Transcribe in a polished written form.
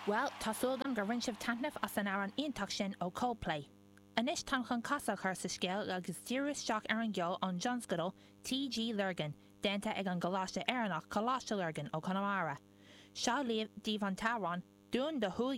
Bhuel, tá súil agam gur bhain sibh taitneamh as an amhrán iontach sin ó Coldplay. Anois táim chun casadh a chur sa scéal agus díriú isteach ar an gceol ón dtionscadal TG Lurgan, déanta ag an gColáiste Éireannach Coláiste Lurgan ó Chonamara. Seo daoibh an t-amhrán Dún do Shúil.